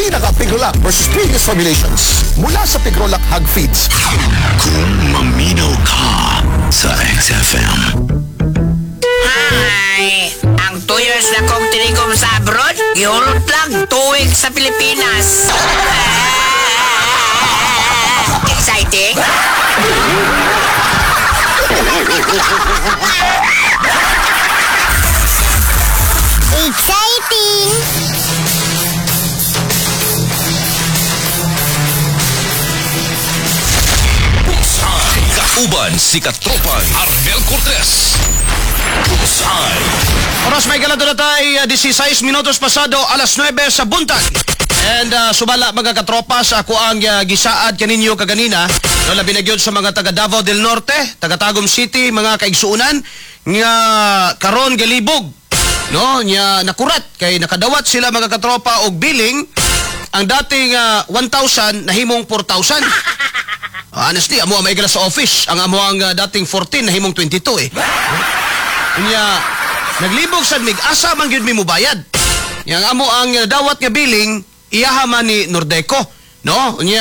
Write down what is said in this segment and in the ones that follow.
Pinaka Pigrolac versus previous formulations. Mula sa Pigrolac Hog Feeds. Kung maminaw ka sa XFM. Hi! Ang 2 years na kong tinikom sa abroad, gihulot lang 2 weeks sa Pilipinas. Exciting? Exciting! Kauban si Katropan Arnel Cortez. Bullseye. Oras may gala na tayo, 16 minutos pasado alas 9 sa buntag. And subala mga katropa sa ako ang gisaad kaninyo kaganina, no, labi na gyud sa mga taga Davao del Norte, taga Tagum City, mga kaigsuonan nga karon galibog, no, nya nakurat kay nakadawat sila mga katropa og billing ang dating 1,000 nahimong 4,000. Honestly, amo ang may sa office, ang amo ang dating 14 nahimong 22 eh. Unya, naglibog sad mig asa man gyud mi mobayad. Yang amo ang dawat nga billing iyaha man ni Nordeco, no? Unya,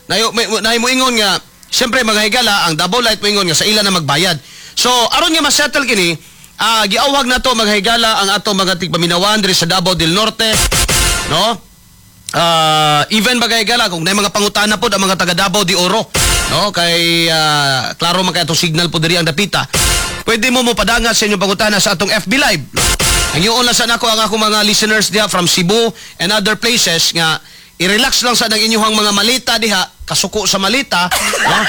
nayo may nay moingon nga siyempre mga higala ang Davao Light moingon nga sa ila na magbayad. So aron nga masettle kini, giawhag na to mga higala ang ato mga tigpaminawan diri sa Davao del Norte, no? Even mga higala kung nay mga pangutana pod ang mga taga Davao de Oro, no? Kay klaro man kay atong signal po diri ang dapita. Pwede mo mopadangat sa inyong pangutana sa atong FB Live. Ang iyon lang sa nako ang akong mga listeners diha from Cebu and other places nga i-relax lang sa nang inyong mga malita diha, kasuko sa malita, no?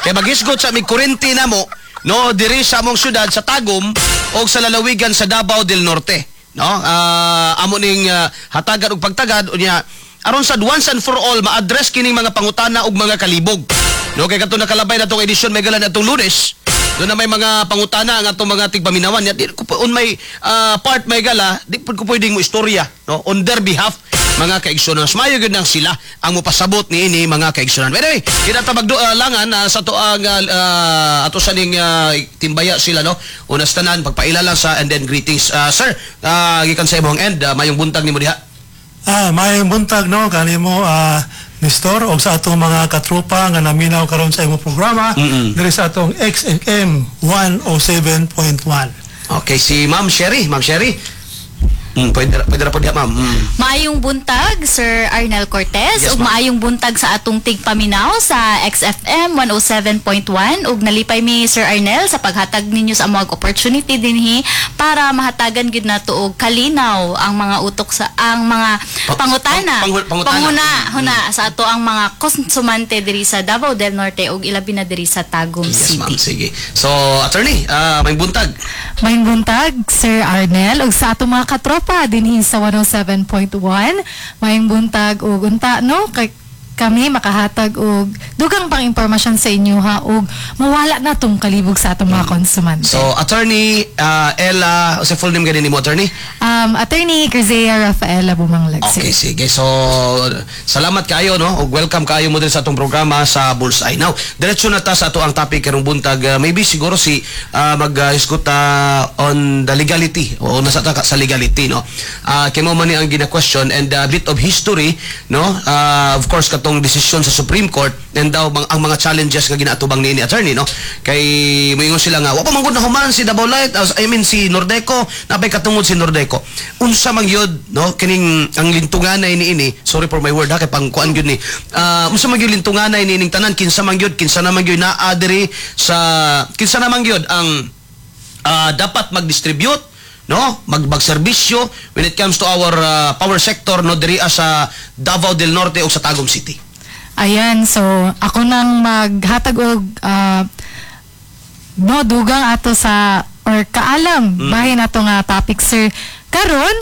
Kay maghisgot sa mig kurente namo, no, diri sa among syudad sa Tagum o sa lalawigan sa Davao del Norte, no? Amo ning hatagan og pagtagad unya aron sad once and for all ma-address kining mga pangutana ug mga kalibog. No, kay kadto nakalabay na tong edisyon may galan atong Lunes. Doon na may mga pangutana ang atong mga tigpaminawan. Ya, di ko on may part may gala, di pud ko pwedeng mo istorya, no, on their behalf mga kaigsunan. Mas mayo gyud nang sila ang mopasabot niini mga kaigsunan. Anyway, kita ta magdulangan sa to ang ato sa ning timbaya sila, no. Unas tanan pagpaila lang sa and then greetings. Sir, gikan sa imong end, mayong buntag nimo diha. Maayong buntag, no, kanimo Nestor og sa atong mga katropa nga naminaw karon sa imong programa diri sa atong XFM 107.1. Okay, si Ma'am Sherry, Ma'am Sherry. Pwede ra po diha, ma'am. Maayong buntag, Sir Arnel Cortez, Yes, ug ma'am. maayong buntag sa atong tigpaminaw sa XFM 107.1 ug nalipay mi, Sir Arnel, sa paghatag ninyo sa among opportunity dinhi para mahatagan gyud nato og kalinaw ang mga utok sa ang mga pangutana. Pangutana. Panguna, huna sa ato ang mga konsumante diri sa Davao del Norte ug ilabi na diri sa Tagum Yes, ma'am. City. Sige. So, attorney, may buntag. Maayong buntag, Sir Arnel, ug sa atong mga katropa dinhi sa 107.1. Maayong buntag ug unta, no, kay kami makahatag og dugang pang impormasyon sa inyo ha ug mawala na tong kalibog sa atong mga konsumante. So, attorney Ella, sa full name gani nimo, attorney? Attorney Crizea Rafaela Bumanglag, sir. Okay, sige. So, salamat kayo, no? Ug welcome kayo mo din sa atong programa sa Bullseye. Now, diretso na ta sa ato ang topic karong buntag. Maybe siguro si mag-isgot on the legality o nasa ta sa legality, no? Kay mo man ni ang gina-question and a bit of history, no? Of course, katong desisyon sa Supreme Court and daw ang mga challenges nga ginaatubang niini, attorney, no? Kay moingon sila nga wa pa man gud nahuman si Davao Light, I mean si Nordeco, napay katungod si Nordeco. Unsa man gyud, no, kining ang lintunganay niini, sorry for my word ha, kay pangkuan gyud ni. Unsa man gyud lintunganay niining tanan, kinsa man gyud, kinsa naman gyud naa diri sa kinsa naman gyud ang dapat mag-distribute, no, magserbisyo when it comes to our power sector, no, diri sa Davao del Norte o sa Tagum City? Ayan, so ako nang maghatag og no dugang ato sa or kaalam bahin ato nga topic, sir. Karon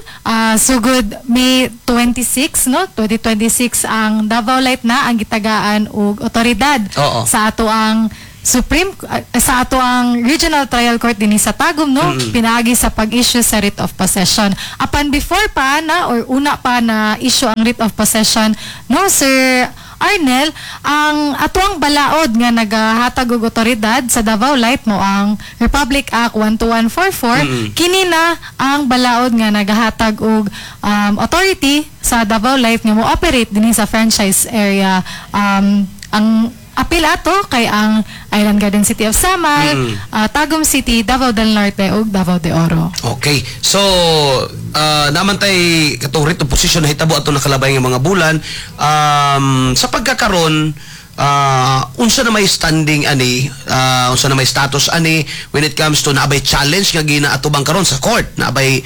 sugod May 26, no, 2026, ang Davao Light na ang gitagaan og otoridad sa ato ang Supreme sa ato ang Regional Trial Court dinhi sa Tagum, no, pinaagi sa pag-issue sa writ of possession. Apan before pa na or una pa na issue ang writ of possession, no, Sir Arnel, ang atuang balaod nga nagahatag og otoridad sa Davao Light mo ang Republic Act 12144. Kini na ang balaod nga nagahatag og authority sa Davao Light nga mo operate dinhi sa franchise area. Ang apil ato kay ang Island Garden City of Samal, Tagum City, Davao del Norte ug Davao de Oro. Okay. So, naman tay katong writ of possession na hitabo ato nakalabay nga mga bulan. Sa pagkakaron, unsa na may standing ani, unsa na may status ani when it comes to naabay challenge nga ginaatubang karon sa court, naabay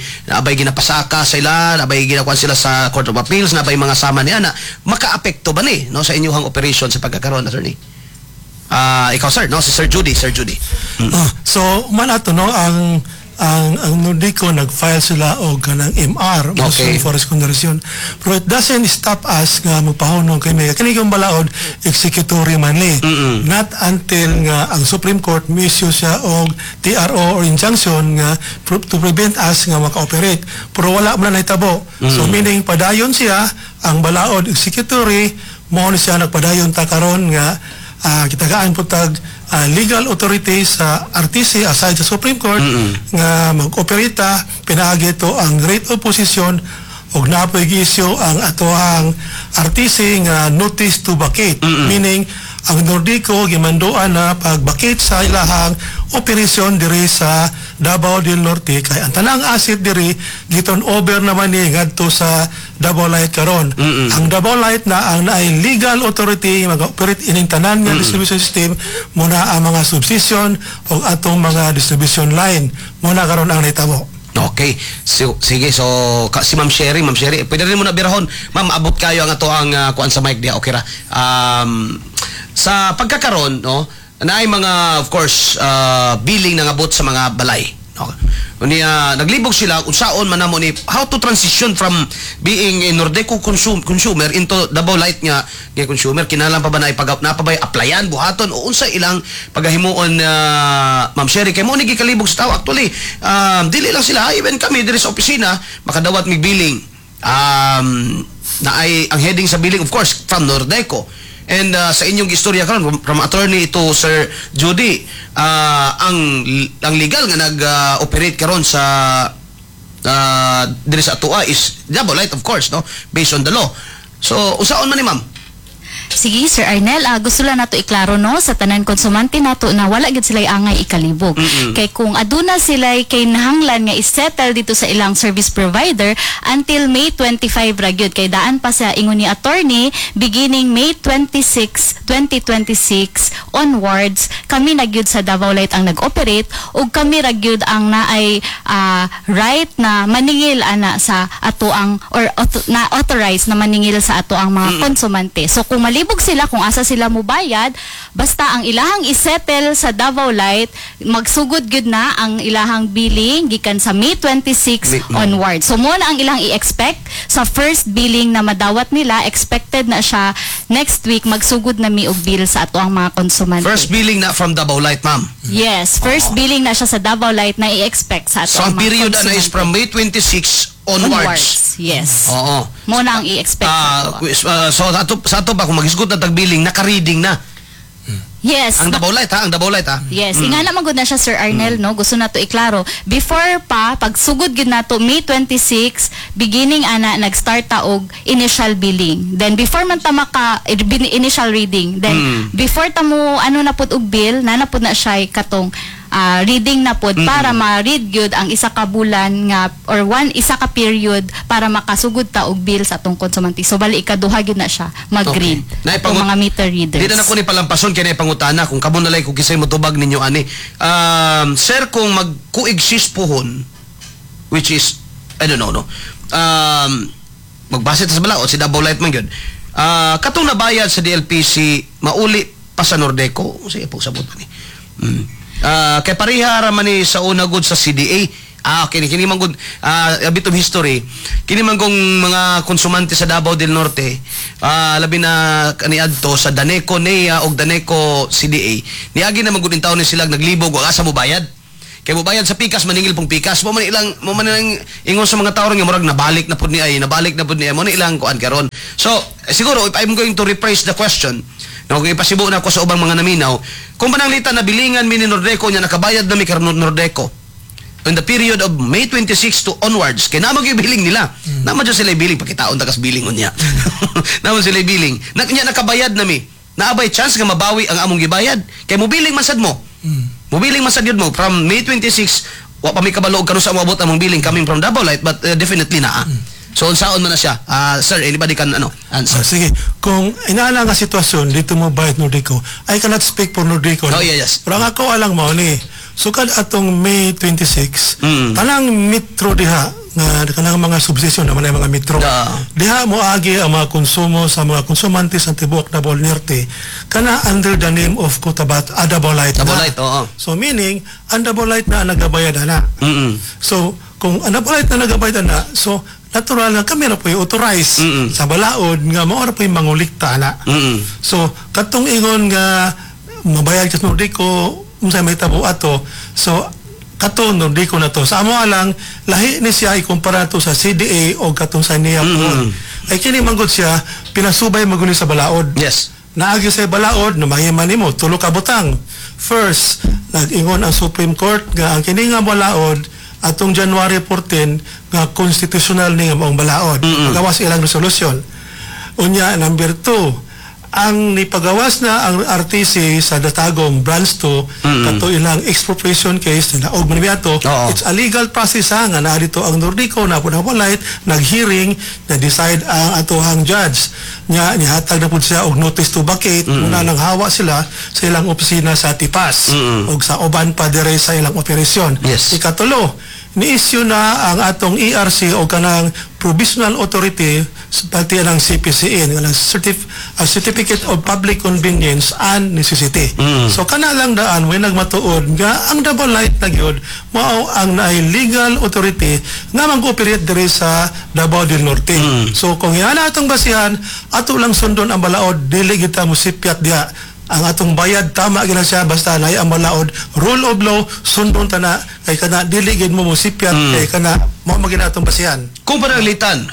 ginapasaka sila, naabay ginakuan sila sa Court of Appeals, naabay mga sama ni ana, makaapekto ba ni, no, sa inyong operation sa pagkakaron, attorney? Ikaw, sir, no, si Sir Judy, Sir Judy. Ah, so man ato, no, ang Nordeco nag-file sila og kanang MR, motion for reconsideration, pero it doesn't stop us nga magpahunong kami. Kini kang balaod, executory man ni, not until nga ang Supreme Court mi-issue siya og TRO or injunction nga to prevent us nga maka-operate, pero wala man na nahitabo. So meaning padayon siya ang balaod, executory mo ni siya. Nagpadayon ta karon nga gitagaan po tag legal authority sa RTC aside sa Supreme Court nga mag-operate pinaagi to ang writ of possession ug napoy gi-issue ang atoang RTC nga notice to vacate, meaning ang Nordeco gimanduan na pag-vacate sa ilahang operasyon diri sa Davao del Norte kay ang tanang asset diri gi-turn over naman ni ngadto sa Davao Light karon. Ang Davao Light na ang naay legal authority mag-operate ining tanan nga distribution system muna ang mga substation o atong mga distribution line muna karon ang nahitabo. Okay. So, sige, so si Ma'am Sherry, Ma'am Sherry, pwede rin mo na birahon. Ma'am, abot kayo ang ato ang kuan sa mic diya, okay ra. Sa pagkakaron, no, naay mga, of course, billing na ngabot sa mga balay. No? Unya naglibog sila unsaon man namo ni how to transition from being a Nordeco consumer into Davao Light nga consumer. Kinahanglan pa ba na ipag na pa ba applyan buhaton o unsa ilang pagahimuon, Ma'am Sherry, kay mo ni gikalibog sa tao actually? Dili lang sila, even kami diri sa opisina makadawat mig billing na ay ang heading sa billing, of course, from Nordeco. And sa inyong istorya karon from attorney to Sir Judy, ang legal nga nag-operate karon sa diri sa atoa is Davao Light, of course, no, based on the law. So usaon man ni, ma'am? Sige, Sir Arnel, gusto lang nato iklaro, no, sa tanan konsumante nato na wala gid sila angay ikalibog. Kay kung aduna sila kay nahanglan nga isettle dito sa ilang service provider, until May 25 ra gyud, kay daan pa sa ingon ni attorney, beginning May 26, 2026 onwards, kami na gyud sa Davao Light ang nag-operate ug kami ra gyud ang naay right na maningil ana sa ato ang or na authorized na maningil sa ato ang mga konsumante. So kung malibog sila kung asa sila mubayad, basta ang ilahang isettle sa Davao Light, magsugod gyud na ang ilahang billing gikan sa May 26 onward. So mo na ang ilang i-expect sa first billing na madawat nila, expected na siya next week, magsugod na mi og bill sa ato ang mga konsumante. First billing na from Davao Light, ma'am? Yes, first billing na siya sa Davao Light na i-expect sa ato So ang ang mga period na is konsumante. From May 26 onwards. Yes. Oo. Mo na ang i-expect sa ato. So sa ato ba kung maghisgot na tag billing, naka-reading na Yes. ang Davao Light, ha, ang Davao Light, ha. Yes, ingana man gud na siya, Sir Arnel, no. Gusto na to iklaro. Before pa pagsugod gyud nato May 26, beginning ana nag-start ta og initial billing. Then before man ta maka initial reading, then before ta mo ano na pud og bill, na na pud na siya katong reading na pud para ma-read gyud ang isa ka bulan nga or one isa ka period para makasugod ta og bill sa atong konsumante. So bali ikaduha gyud na siya mag-read Okay. atong mga meter readers. Di na nako ni palampason kay na pangutana kung kamo nalay kung kisay motubag ninyo ani. Sir, kung mag-coexist pohon, which is I don't know, no. Magbase ta sa balaod si Davao Light man gyud. Katong nabayad sa DLPC mauli pa sa Nordeco. Sige po sabot ni. Kay pareha ra man ni sa una gud sa CDA. Ah, okay, kini man gud a bit of history. Kini man kung mga konsumante sa Davao del Norte, labi na kaniadto sa Daneco NEA og Daneco CDA. Niagi na man gud taon ni sila naglibog og asa mo bayad. Kay mobayad sa pikas, maningil pong pikas. Mo man ilang ingon sa mga tao nga murag nabalik na pud ni ay, nabalik na pud ni ay. Mo na ilang kuan karon. So, siguro if I'm going to rephrase the question, no, kung ipasibo na ako sa ubang mga naminaw, kung pananglitan na bilingan mi ni Nordeco nya nakabayad na mi karon Nordeco in the period of May 26 to onwards, kay naa man gyud billing nila. Naa man jud sila billing, pakitaon ta kas billing unya. Naa man sila billing. Na, nya nakabayad na mi. Naa bay chance nga mabawi ang among gibayad? Kay mobiling man sad mo. Mobiling man sad yun mo from May 26, wa pa mi kabalo og kanus-a moabot among billing coming from Davao Light, but definitely naa. So unsaon man na siya? Ah, sir, anybody can ano answer? Ah, sige, kung inaana nga sitwasyon dito mo bayad Nordeco, I cannot speak for Nordeco. Oh, yeah, yes. Pero ang ako alang mo ni, sukad atong May 26, tanang metro diha nga kanang mga substation naman ay mga metro. Diha mo agi ang mga konsumo sa mga konsumante sa tibuok Davao Norte kana under the name of Cotabato, Davao Light na. Davao Light, oo. So meaning, ang Davao Light na ang nagabayad ana. So kung ang Davao Light na nagabayad ana, so natural na kami ra po'y authorize sa balaod nga mao ra po'y mangulikta ana. So katong ingon nga mabayad ka sa Nordeco, unsay may tabo ato, so kato Nordeco na to. Sa amo lang lahi ni siya ikumpara to sa CDA o katong sa NEA mm. Ay kini manggod siya pinasubay maguni sa balaod. Naagi sa balaod no mahima nimo tulo ka butang. First, nag-ingon ang Supreme Court nga ang kini nga balaod atong January 14 nga constitutional ni nga maong balaod. Pagawas ilang resolution. Unya, number 2, ang nipagawas na ang RTC sa Datagom Branch 2 kato ilang expropriation case na og man ato. It's a legal process ha, nga naa dito ang Nordeco na po light nag-hearing na decide ang atohang judge nya nihatag na pud siya og notice to vacate. Muna nang hawa sila sa ilang opisina sa Tipas ug sa uban pa dire sa ilang operasyon. Ikatulo, ni-issue na ang atong ERC o kanang provisional authority sa pati ng CPCN kanang Certificate of Public Convenience and Necessity. So kana lang daan may nagmatuod nga ang Davao Light na gyud mao ang naay legal authority nga mag-operate diri sa Davao del Norte. So kung yan atong basihan, ato lang sundon ang balaod, dili kita mosipyat diha. Ang atong bayad tama gina siya basta naay ang balaod, rule of law, sundon ta na kay kana dili gid mo mosipyat kay kana mao man gina atong basihan. Kung pananglitan,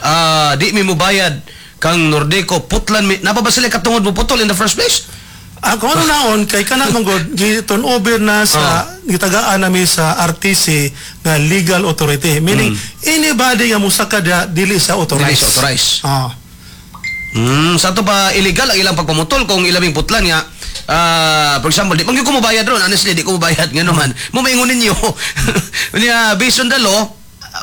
di mi mobayad kang Nordeco, putlan mi, naa pa ba sila katungod mo putol in the first place? Ah, kung ano naon kay kana man gud gi-turn over na sa gitagaan nami sa RTC nga legal authority, meaning anybody nga musaka diha dili sa authorized. Dili sa authorized. Ah. Sa ato pa illegal ang ilang pagpamutol kung ilabing putlan nga for example, di man gyud ko mobayad ron, honestly di ko mobayad ngano man. Mo maingon ninyo. Unya based on the law,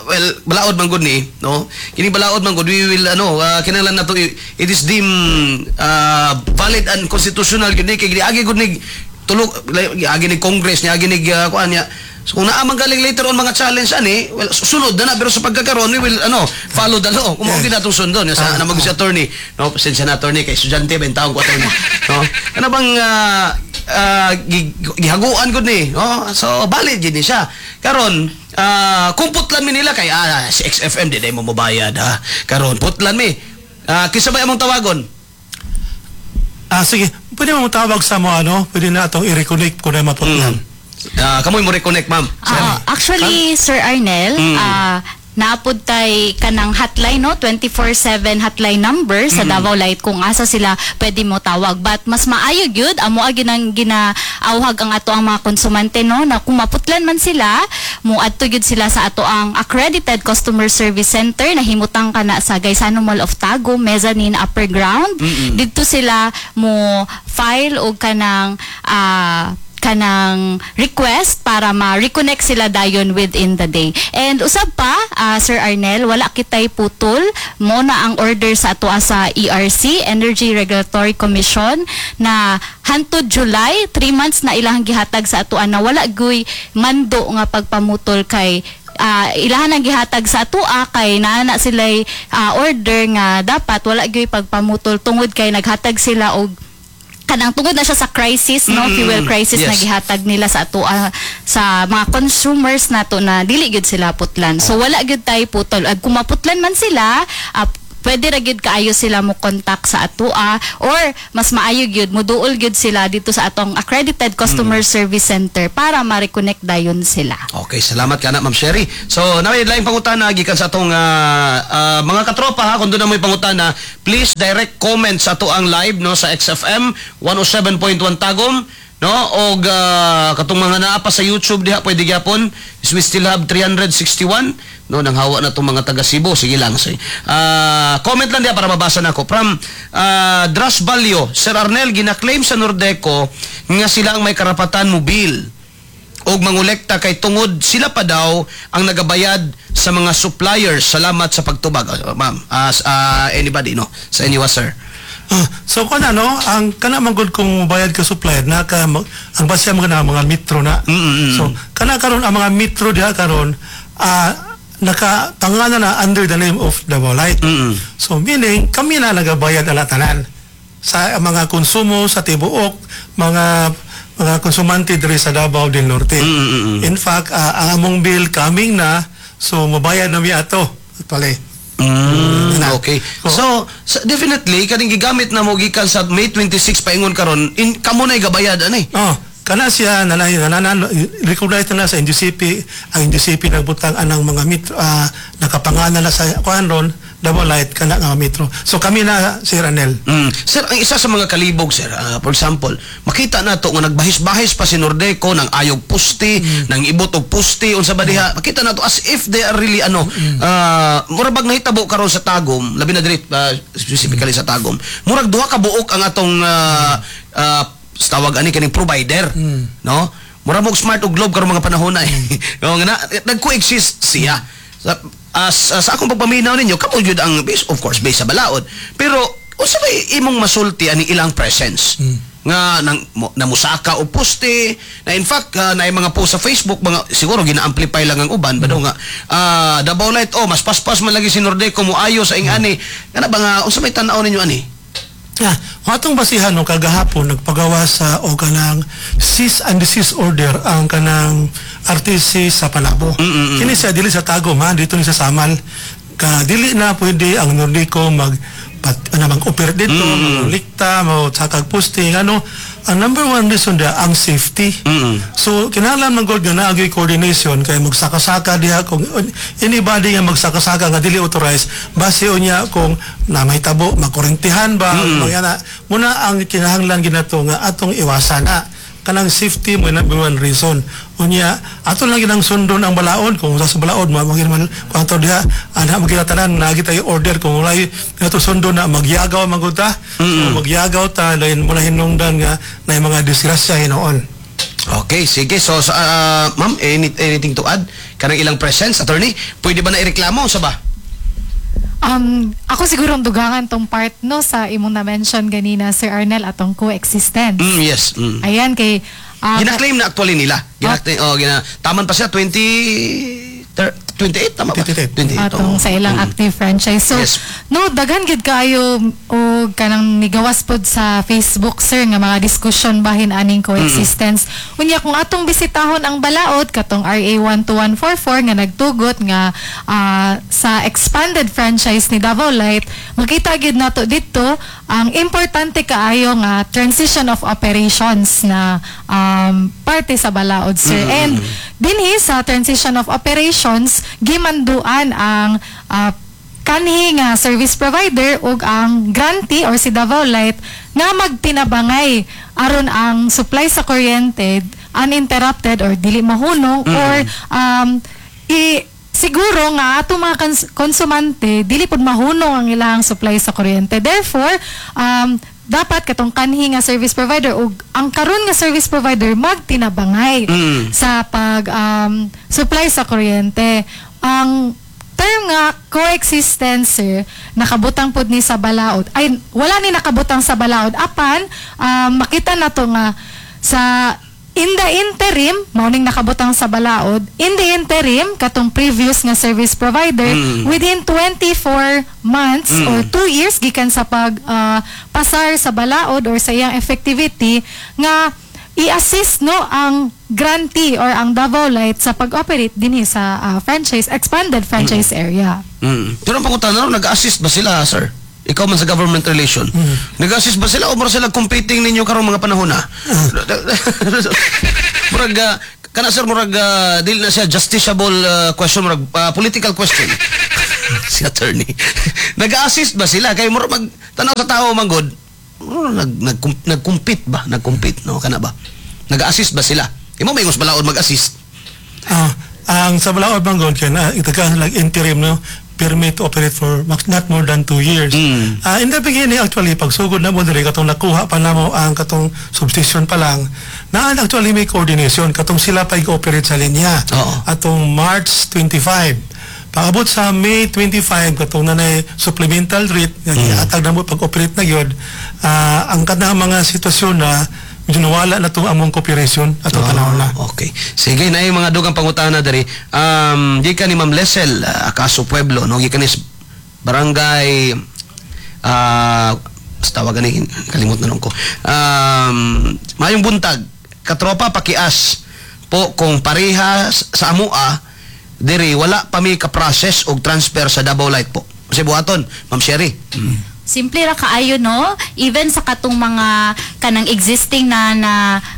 well, balaod man gud ni, no? Kini balaod man gud, we will ano, kinahanglan nato it is deemed valid and constitutional gud ni kay giagi gud ni tulog giagi ni Congress niya, agi ni kuan niya. So kung naa man galing later on mga challenge ani, well, sunod na na, pero sa pagkakaroon we will ano, follow the law. Kung mao natong sundon sa na mag si attorney, no, pasensya na attorney kay estudyante ba taong ko attorney, no? Kana bang gihaguan gud ni, no? So valid gid ni siya. Karon, kung putlan mi nila kay si XFM di day mo mobayad ha. Karon putlan mi. Kinsa ba among tawagon? Ah, sige, pwede mo tawag sa mo ano, pwede na atong i-reconnect kung na maputlan. Kamoy mo reconnect, ma'am. Actually, Sir Arnel, naapod tay kanang hotline, no, 24/7 hotline number sa Davao Light kung asa sila pwede mo tawag, but mas maayo gyud amo agi nang ginaawhag ang ato ang mga konsumante, no, na kung maputlan man sila, mo adto gyud sila sa ato ang accredited customer service center na himutang kana sa Gaisano Mall of Tagum, mezzanine upper ground. Didto sila mo file og kanang request para ma-reconnect sila dayon within the day. And usab pa, Sir Arnel, wala kitay putol mo na ang order sa ato sa ERC, Energy Regulatory Commission, na hantod July, 3 months na ilang gihatag sa ato na wala guy mando nga pagpamutol kay ilahan ang gihatag sa atoa kay naa na sila'y order nga dapat wala gyud pagpamutol tungod kay naghatag sila og kanang tungod na siya sa crisis, no, fuel crisis na gihatag nila sa ato sa mga consumers nato na dili gyud sila putlan. So wala gyud tay putol. Ag kung maputlan man sila, Pwede ra gyud kaayo sila mo contact sa atoa or mas maayo gyud moduol gyud sila dito sa atong accredited customer service center para ma-reconnect dayon sila. Okay, salamat ka na, Ma'am Sherry. So, naa may laing pangutana gikan sa atong mga katropa ha, kung doon na mo'y pangutana, please direct comment sa ato ang live, no, sa XFM 107.1 Tagum, no, og katong mga naa pa sa YouTube diha, pwede gyapon. We still have 361, no, nang hawa na tong mga taga Cebu. Sige lang, sige. Comment lang diha para mabasa nako. From Dras Balyo, "Sir Arnel, gina-claim sa Nordeco nga sila ang may karapatan mo bill og mangolekta kay tungod sila pa daw ang nagabayad sa mga suppliers. Salamat sa pagtubag." Ma'am, as anybody, no, sa inyo, sir. Ah, so kung ano, ang kana man gud kung bayad ka supplier na ka ang base mo na mga metro na. So kana karon ang mga metro diha karon naka pangalan na under the name of Davao Light. So meaning kami na nagabayad ala tanan sa mga konsumo sa tibuok mga konsumante diri sa Davao del Norte. In fact, ang among bill coming na, so mabayad na mi ato. Actually. Na. So, definitely kaning gigamit na mo gikan sa May 26 paingon karon, in kamo na gabayad ani. Oh, kana siya nanay nanan recognize na sa NGCP, ang NGCP nagbutang anang mga metro, nakapangalan na sa kuan ron Davao Light kana nga metro. So kami na, Sir Anel. Sir, ang isa sa mga kalibog, sir, for example, makita nato nga nagbahis-bahis pa si Nordeco ng ayog puste, ng ibot og puste, unsa ba diha. Makita nato as if they are really ano, murag bag nahitabo karon sa Tagum, labi na diri specifically sa Tagum. Murag duha ka buok ang atong tawag ani kaning provider, no? Murag mo Smart ug Globe karon mga panahon na eh. No, nga na, nag-coexist siya. Sa akong pagpaminaw ninyo, kamo gyud ang base, of course, base sa balaod. Pero unsa may imong masulti ani ilang presence? Nga nang namusaka og poste na in fact na mga post sa Facebook, mga siguro gina-amplify lang ang uban ba daw nga Davao Light, oh, mas paspas man lagi si Nordeco mo ayo sa ingani kana ba, nga unsa may tan-aw ninyo ani? Yeah, ang atong basihan, no, kagahapon nagpagawa sa o kanang cease and desist order ang kanang RTC sa Panabo. Kini siya dili sa Tagum ha, dito ni sa Samal. Ka dili na pwede ang Nordeco mag pat, ano, mag-operate dito, maglikta, mo sakag posting, ano, ang number one reason da ang safety. So kinahanglan man gud nga naa gyud coordination kay magsaka-saka diha kung anybody nga magsaka-saka nga dili authorized, base unya kung na may tabo makurentihan ba mm. Mga muna ang kinahanglan ginato nga atong iwasan na kanang safety mo number one reason. Unya ato lang ginang sundon ang balaod kung sa balaod mo man kung ato diha ana magila tanan naa tayo order kung walay ato sundon na magyagaw man gud ta. So, magyagaw ta dayon muna hinungdan nga na mga disgrasya hinuon. Okay, sige. So, ma'am, anything to add? Kanang ilang presence, attorney? Pwede ba na ireklamo sa ba? Ako siguro ang dugangan tong part, no, sa imong na-mention ganina, Sir Arnel, atong coexistence. Yes. Ayan kay Gina-claim na actually nila. Gina-claim, oh, taman pa siya 20 28, tama ba? 28. 28. Atong oh. sa ilang active franchise. So, no, daghan gid kaayo og kanang nigawas pod sa Facebook, sir, nga mga discussion bahin aning coexistence. Unya kung atong bisitahon ang balaod katong RA 12144 nga nagtugot nga sa expanded franchise ni Davao Light, makita gid nato dito ang importante kaayo nga transition of operations na parte sa balaod, sir. And dinhi sa transition of operations, gimanduan ang kanhi nga service provider ug ang grantee or si Davao Light nga magtinabangay aron ang supply sa kuryente uninterrupted or dili mahunong or i siguro nga atong mga konsumante dili pud mahunong ang ilang supply sa kuryente. Therefore, dapat katong kanhi nga service provider ug ang karon nga service provider magtinabangay sa pag supply sa kuryente. Ang term nga coexistence, sir, nakabutang pud ni sa balaod. Ay, wala ni nakabutang sa balaod apan makita na to nga sa in the interim, mao ning nakabutang sa balaod, in the interim, katong previous nga service provider, within 24 months or 2 years gikan sa pag pasar sa balaod or sa iyang effectivity nga i-assist, no, ang grantee or ang Davao Light sa pag-operate dinhi sa franchise expanded franchise area. Pero ang pangutana ron, nag-assist ba sila, sir? Ikaw man sa government relation. Nag-assist ba sila o mura sila competing ninyo karong mga panahon na? Murag kana, sir, murag dili na siya justiciable question, murag political question. Si attorney. Nag-assist ba sila kay murag mag tanaw sa tao man gud? Murag nag nag nag-compete ba? Nag-compete, no, kana ba? Nag-assist ba sila? Imo may balaod mag-assist. Ah, ang sa balaod man gud kay na itagaan like interim, no, permit to operate for not more than 2 years. Ah, in the beginning, actually, pagsugod na mo diri, katong nakuha pa namo ang katong substation pa lang na, actually may coordination katong sila pa operate sa linya. Atong March 25. Pag-abot sa May 25, katong nanay supplemental rate nga gihatag na mo pag-operate na gyud, ang kanang mga sitwasyon na medyo nawala na tong among cooperation atong panahon na. Okay. Sige na yung mga dugang pangutana diri. Gikan ni Ma'am Lesel, Acaso Pueblo, no, gikan ni barangay basta tawagan ni, kalimot na nun ko. Mayong buntag, katropa, pakias po kung pareha sa amua diri, wala pa mi ka-process og transfer sa Davao Light po. Kasi buhaton, Ma'am Sherry. Simple ra kaayo, no? Even sa katong mga kanang existing na na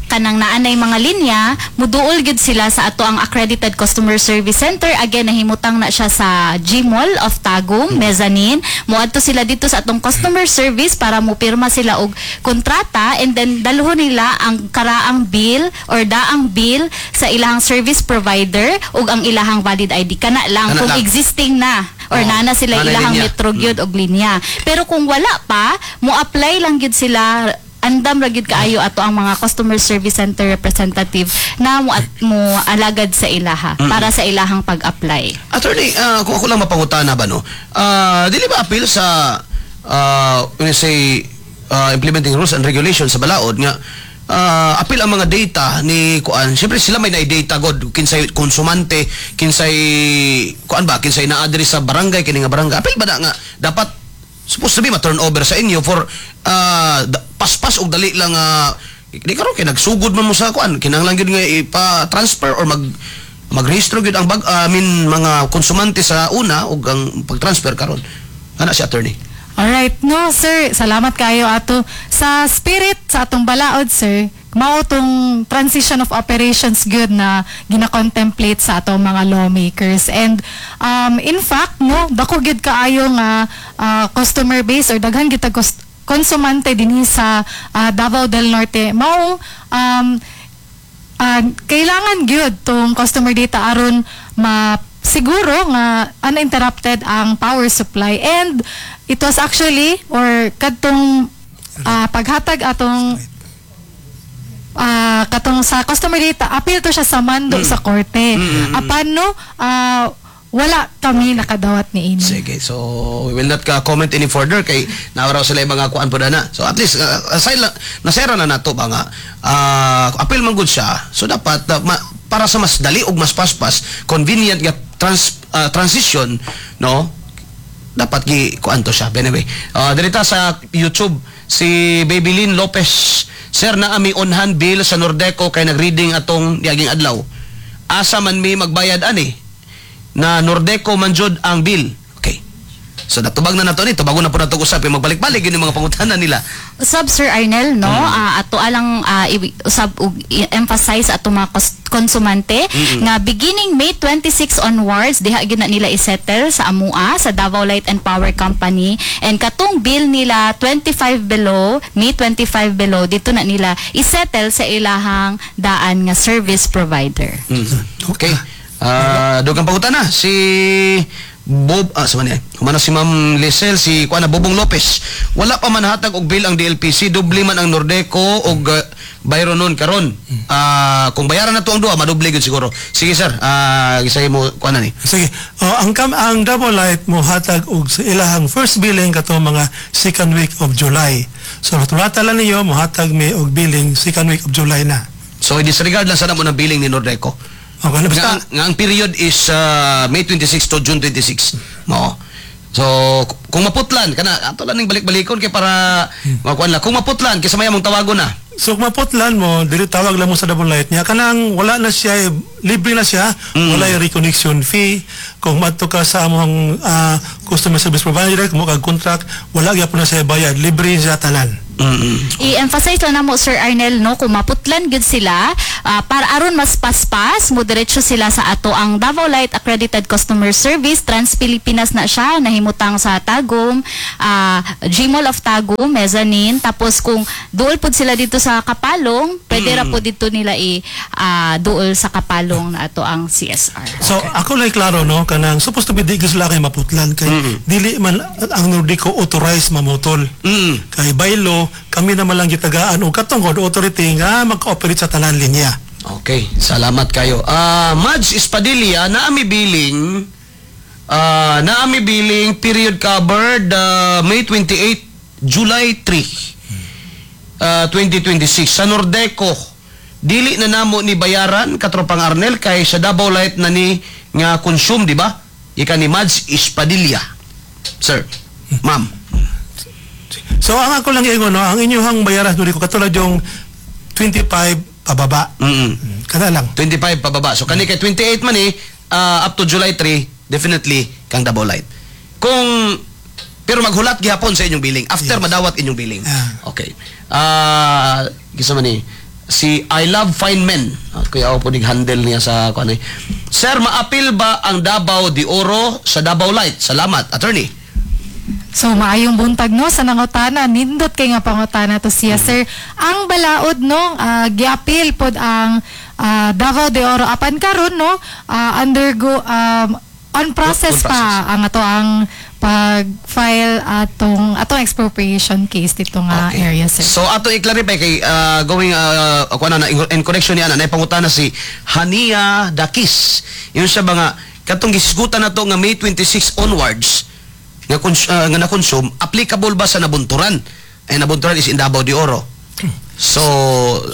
kanang naanay mga linya, muduol gyud sila sa ato ang accredited customer service center. Again, nahimutang na siya sa Gmall of Tagum, mezzanine. Muadto sila dito sa atong customer service para mupirma sila og kontrata and then dalhon nila ang karaang bill or daang bill sa ilahang service provider ug ang ilahang valid ID. Kana lang Kana kung lang. Existing na or naa na sila Naa na ilahang linya. metro gyud og linya. Pero kung wala pa, mo apply lang gyud sila. Andam ra gyud kaayo ato ang mga customer service center representative na mo at mo alagad sa ilaha para sa ilahang pag-apply. Attorney, kung ako lang mapangutana ba, no? Dili ba appeal sa when you say implementing rules and regulations sa balaod nga appeal ang mga data ni kuan? Syempre sila may na data god, kinsay konsumante, kinsay kuan ba, kinsay naa diri sa barangay, kini nga barangay. Appeal ba na nga dapat supposed to be ma-turn over sa inyo for paspas og dali lang, di karon kay nagsugod man mo sa kuan, kinahanglan gyud nga ipa-transfer or magrehistro gyud ang bag, I mean, mga konsumante sa una ug ang pag-transfer karon ana, si attorney? Alright, no sir, salamat kayo ato sa spirit sa atong balaod, sir. Mao tong transition of operations good na gina-contemplate sa atong mga lawmakers. And in fact, no, dako gyud kaayo nga customer base or daghan gyud tag konsumante dinhi sa Davao del Norte. Mao kailangan gyud tong customer data aron ma siguro nga uninterrupted ang power supply. And it was actually or kadtong paghatag atong katong sa customer data, appeal to siya sa mando sa korte. Apan no, wala kami nakadawat ni ini. Sige, so we will not ka comment any further kay naaraw sila yung mga kuan po na. So at least aside lang nasera na nato ba nga appeal man gud siya. So dapat para sa mas dali ug mas paspas, convenient nga transition, no, dapat gi kuan to siya. But anyway, dirita sa YouTube, si Babylin Lopez. "Sir, naa mi on hand bill sa Nordeco kay nagreading atong niaging adlaw. Asa man mi magbayad ani na Nordeco man jud ang bill?" Okay. So natubag na nato ni, tubagon na po nato usap, magbalik-balik yun yung mga pangutana nila. Usab, Sir Arnel, no, ato alang usab og emphasize ato mga konsumante nga beginning May 26 onwards, diha gyud na nila isettle sa amua sa Davao Light and Power Company. And katong bill nila 25 below, May 25 below, dito na nila isettle sa ilahang daan nga service provider. Okay. Dugang pangutana si Bob, sa man niya. Humana si Ma'am Lisel, si kuana Bobong Lopez. "Wala pa man hatag og bill ang DLPC, doble man ang Nordeco og bayro nun karon. Kung bayaran na to ang duha, madoble gyud siguro." Sige sir, gisay mo kuana ni. Sige. Oh, ang Davao Light mo hatag og sa ilahang first billing katong mga second week of July. So turata lang niyo, mohatag mi og billing second week of July na. So i-disregard lang sana mo ng billing ni Nordeco. Okay, Nga, basta nga ang period is May 26 to June 26. Oo. So, kung maputlan kana ato lang ning balik-balikon kay para makuan lang. Kung maputlan kaysa maya mong tawagon na. So kung maputlan mo, dili tawag lang mo sa Davao Light niya kanang wala na siya, libre na siya, wala yung reconnection fee. Kung madto ka sa among customer service provider, kung kag contract, wala gyapon na siya bayad, libre siya tanan. I-emphasize lang namo, Sir Arnel, no, kung maputlan gyud sila, para aron mas paspas mo diretso sila sa ato ang Davao Light Accredited Customer Service Trans Pilipinas na siya nahimutang sa Tagum, Gmall of Tagum mezzanine. Tapos kung duol pud sila dito sa Kapalong, pwede ra pud dito nila i duol sa Kapalong na ato ang CSR. So ako lang klaro, no, kanang supposed to be di gyud sila kay maputlan kay dili man ang Nordeco authorized mamutol. Kay by law kami naman lang gitagaan og katong authority nga mag-operate sa tanan linya. Okay, salamat kayo. Mads Espadilla, naami billing period covered May 28, July 3, 2026 sa Nordeco. Dili na namo ni bayaran, katropang Arnel, kay sa Davao Light na ni nga consume, di ba? Ika ni Mads Espadilla. Sir, ma'am. So ang ako lang ingon, no, ang inyong bayaran Nordeco katulad yung 25 pababa. Kada lang. 25 pababa. So kani kay 28 man eh, up to July 3, definitely kang Davao Light. Kung pero maghulat gihapon sa inyong billing after madawat inyong billing. Okay. Gisa man ni si I Love Fine Men. Kuya ako po nig handle niya sa kuan eh. Sir, maapil ba ang Davao de Oro sa Davao Light? Salamat, attorney. So maayong buntag, no, sa nangutana, nindot kay nga pangutana to siya, sir. Ang balaod, no, giapil pod ang Davao de Oro apan karon, no, undergo on process On pa process. ang ato ang pag-file atong atong expropriation case dito nga area, sir. So ato i-clarify kay going kuan na in connection niya na pangutana si Hania Dakis. Yun siya ba nga katong gisgutan na to nga May 26 onwards nga nga na-consume, applicable ba sa Nabunturan? Eh Nabunturan is in Davao de Oro. So,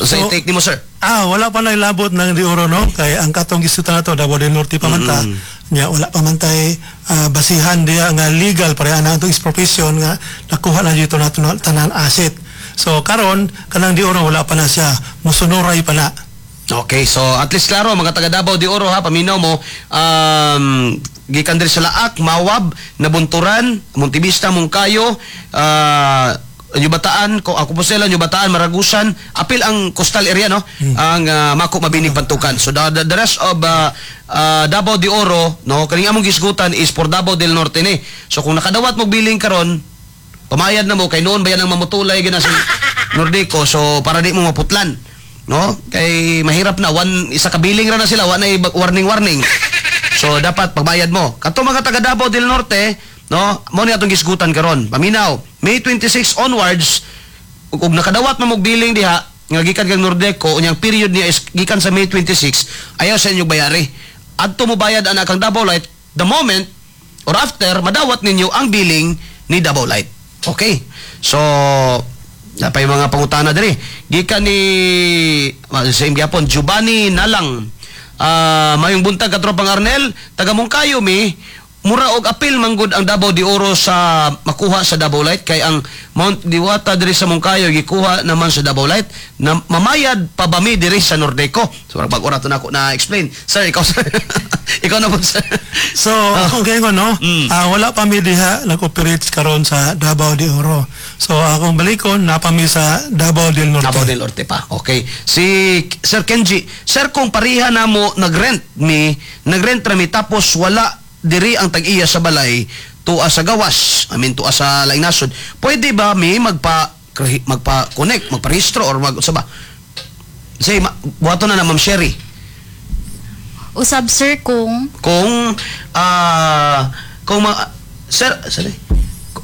sa So, take nimo, sir. Wala pa na ilabot ng de Oro, no? Kay ang katong gisutan na to, Davao del Norte pa man ta. Nya, wala pa man tay basihan diya nga legal para ana atong expropriation nga nakuha na dito na tanan asset. So karon kanang de Oro wala pa na siya, musunuray pa na. Okay, so at least klaro mga taga Davao de Oro ha, paminaw mo, gikan diri sa Laak, Mawab, Nabunturan, Montevista, Moncayo, New Bataan, ko ako po sila, New Bataan, Maragusan, apil ang coastal area, no? Ang Maco, Mabini, Pantukan. So the rest of Davao de Oro, no, kaning among gisgutan is for Davao del Norte ni. So kung nakadawat mo billing karon, pamayad na mo kay noon ba yan ang mamutulay gina si Nordeco, so para di mo maputlan. No? Kay mahirap na one isa ka billing ra na sila, wa na warning warning. So dapat pagbayad mo. Kato mga taga Davao del Norte, no, mo ni atong gisgutan karon. Paminaw, May 26 onwards ug nakadawat mo og billing diha nga gikan kang Nordeco, unyang period niya is gikan sa May 26, ayaw sa inyo bayari. Adto mo bayad ana kang Davao Light the moment or after madawat ninyo ang billing ni Davao Light. Okay. So, napay mga pangutana diri. Gikan ni same gyapon Giovanni Nalang. Mayong buntag, katropang Arnel, taga Moncayo mi, mura og apil manggod ang Davao de Oro sa makuha sa Davao Light kay ang Mount Diwata diri sa Moncayo gikuha naman sa Davao Light na mamayad pa ba mi diri sa Nordeco? So bag ora to nako na explain. Sir, ikaw, sir. Ikaw na po, sir. So, ako kaya ko, no? Wala pa mi diha nag-operate karon sa Davao de Oro. So, akong balikon, napa mi sa Davao del Norte. Davao del Norte pa. Okay. Si Sir Kenji, sir, kung pareha na mo nagrent mi, nagrent ra mi tapos wala diri ang tag-iya sa balay tuwa sa gawas, I mean tuwa sa laing nasod, pwede ba mi magpa connect, magparehistro or mag sa ba? Say, buhaton na na Ma'am Sherry. Usab, sir, kung Kung sir, sorry.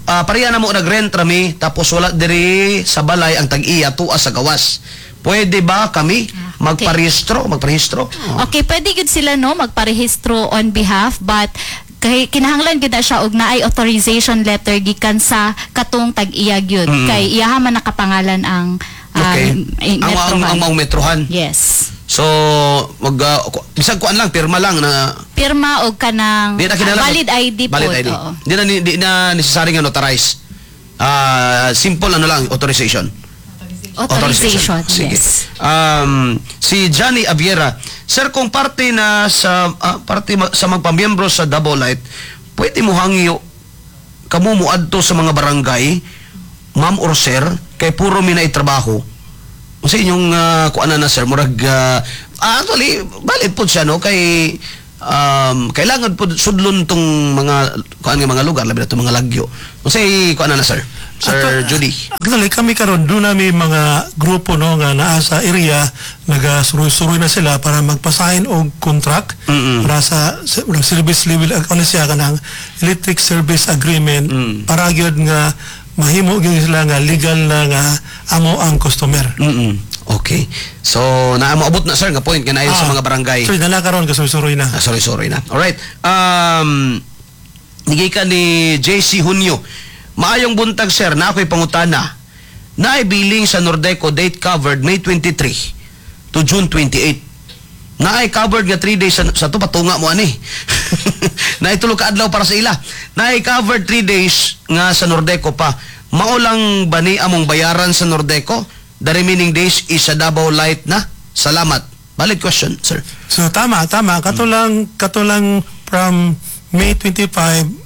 Pareha na mo nagrent rami tapos wala diri sa balay ang tag-iya tuwa sa gawas. Pwede ba kami magparehistro, magparehistro? Okay, pwede gud sila, no, magparehistro on behalf, but kay kinahanglan gud na siya og naay authorization letter gikan sa katong tag-iya gyud kay iyaha man nakapangalan ang Ang metrohan. ang metrohan. Yes. So mag bisag kuan lang, pirma lang na Pirma og kanang di na kinahanglan valid ID valid po. ID. Oo. Di na necessary nga notarize. Simple ano lang, authorization. Authorization. Sige. Yes. Si Johnny Aviera, sir, kung parte na sa parte sa magpamiyembro sa Davao Light, pwede mo hangyo kamo mo adto sa mga barangay, ma'am or sir, kay puro mi na trabaho. Sa inyong kuan na sir, murag actually valid po siya, no, kay kailangan po sudlon tong mga kuan nga mga lugar, labi na tong mga lagyo. Unsay kuan na sir? Sir Judy. Actually, kami karon doon namin mga grupo, no, nga naa sa area, nagasuroy-suroy na sila para magpasign og contract para sa service level, ano siya, kanang electric service agreement, para gyud nga mahimo gyud sila nga legal na nga amo ang customer. Okay. So, naa moabot na sir nga point nga sa mga barangay. So, nala karon kasuroy na. Ah, sorry, sorry na. Alright. Nigay ka ni JC Junio. Maayong buntag sir, na ako'y pangutana. Naay billing sa Nordeco date covered May 23 to June 28. Naay covered nga 3 days sa to patunga mo ani. Naay tulo ka adlaw para sa ila. Naay covered 3 days nga sa Nordeco pa. Mao lang ba ni among bayaran sa Nordeco? The remaining days is sa Davao Light na. Salamat. Valid question, sir. So tama, tama. Kato lang from May 25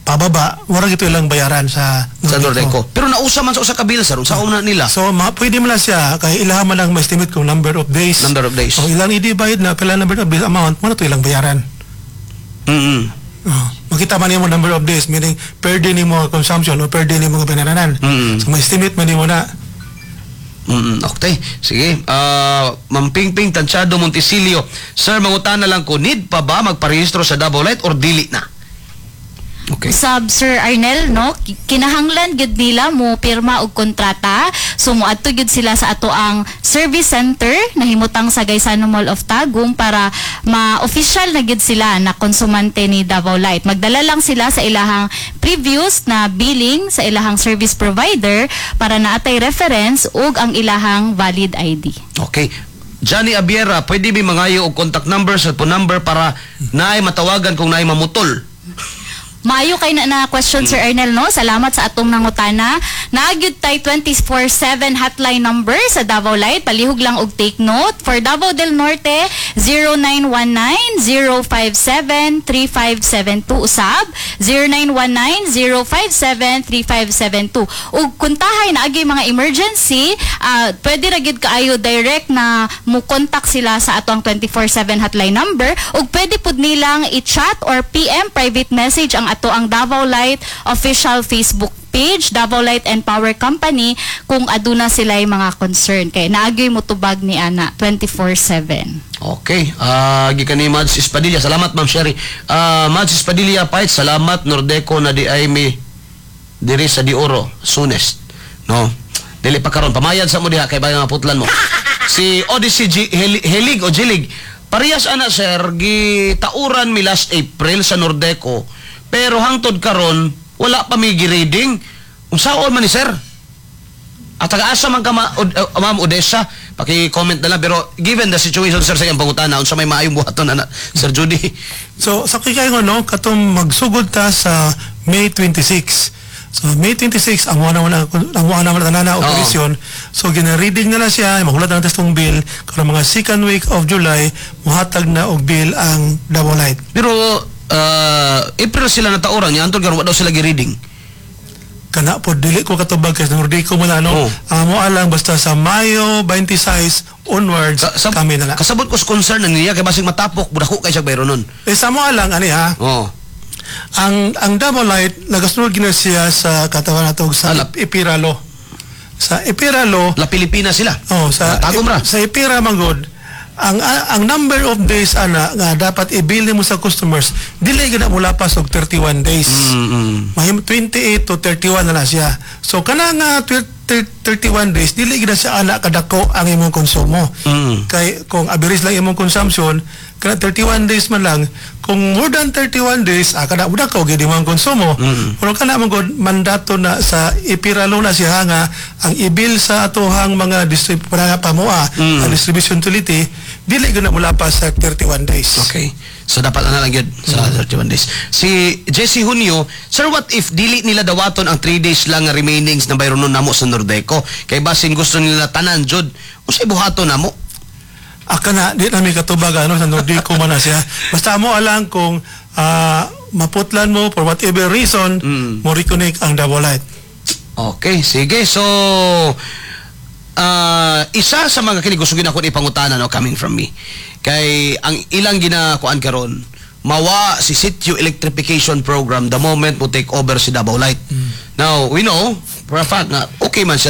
pababa, wala ito ilang bayaran sa Sa Nordeco. Pero nausa man sa usa ka bill, sir. Unsa na nila? So pwede mo lang siya kay ilaha man lang ma-estimate kung number of days. Number of days. So ilang i-divide na pila number of days amount mo na to ilang bayaran. Oh, makita man nimo number of days, meaning per day nimo consumption o per day nimo nga binaranan. So ma-estimate man nimo na. Okay. Sige. Ma'am Pingping Tanchado Montesilio. Sir, mangutana lang ko, need pa ba magparehistro sa Davao Light or dili na? Okay. Sab Sir Arnel, no, kinahanglan gyud nila mo pirma og kontrata. So moadto gyud sila sa ato ang service center nahimutang sa Gaisano Mall of Tagum para ma-official na gyud sila na konsumante ni Davao Light. Magdala lang sila sa ilahang previous na billing sa ilahang service provider para naatay reference ug ang ilahang valid ID. Okay. Johnny Abiera, pwede ba mangayo og contact number, cellphone number para naay matawagan kung naay mamutol? Maayo kay na question, Sir Arnel, no. Salamat sa atong nangutana. Naa gyud tay 24/7 hotline number sa Davao Light. Palihog lang og take note. For Davao del Norte, 0919-057-3572 usab. 0919-057-3572. Ug kuntahay naagay mga emergency, pwede ra gyud kaayo direct na mo contact sila sa atong 24/7 hotline number ug pwede pud nilang i-chat or PM, private message, ang ato ang Davao Light official Facebook page, Davao Light and Power Company, kung aduna sila mga concern kay naagyoy motubag ni ana 24/7. Okay. Gikan ni Mads Espadilla. Salamat, Ma'am Sherry. Mads Espadilla Pait, salamat Nordeco na di ay mi diri sa Dioro soonest. No. Dili pa karon, pamayad sa mo diha kay bayan nga putlan mo. Si Odyssey G, Helig o Jilig. Parehas ana sir, gitauran mi last April sa Nordeco. Pero hangtod karon wala pa mi gi-reading. Unsaon man ni sir? At taga-asa man ka Ma'am Odessa, paki-comment na lang, pero given the situation sir sa iyang pangutana, unsa may maayong buhaton ana, Sir Judy? So sa kay no, katong magsugod ta sa May 26. So May 26 amo na wala, amo na wala na operasyon. So gina-reading na na siya, mahulat na tong bill karon mga second week of July muhatag na og bill ang Davao Light. Pero April sila natauran niya, antod karon wa daw sila gi-reading. Kana po dili ko katubag kay Nordeco mo na, no. Ang amo alang basta sa Mayo 26 onwards kami na lang. Kasabot ko sa concern na niya kay basig matapok budako kay siya bayro nun. Eh sa amo alang ani ha. Ang Davao Light nagasunod gina siya sa katawan nato sa EPIRA law. Sa EPIRA law, La Pilipina sila. Oh, sa Tagum ra. Sa EPIRA manggod, ang number of days ana nga dapat i-bill mo sa customers dili gid na mulapas og 31 days. Mahim 28 to 31 na lang siya. So kana nga 31 days dili gid na siya ana kadako ang imong konsumo. Kay kung average lang imong consumption kana 31 days man lang, kung more than 31 days kada udak ka gid imong konsumo. Pero kana man gud mandato na sa EPIRA law na siya nga ang i-bill sa atohang mga para pamoa ang distribution utility dili gud na mulapas sa 31 days. Okay. So dapat ana lang yun sa 31 days. Si Jesse Junio, "Sir, what if dili nila dawaton ang 3 days lang nga remainings na bayronon namo sa Nordeco? Kay basin gusto nila tanan jud. Unsay buhaton namo?" Aka na, di na may katubag ano, sa Nordico man na siya. Basta mo alang kung maputlan mo for whatever reason, mo reconnect ang Davao Light. Okay, sige. So, isa sa mga kini gusto gina akong ipangutana, no, coming from me. Kay ang ilang ginakuan karon, mawa si Sitio Electrification Program the moment mo take over si Davao Light. Now, we know for a fact nga okay man siya.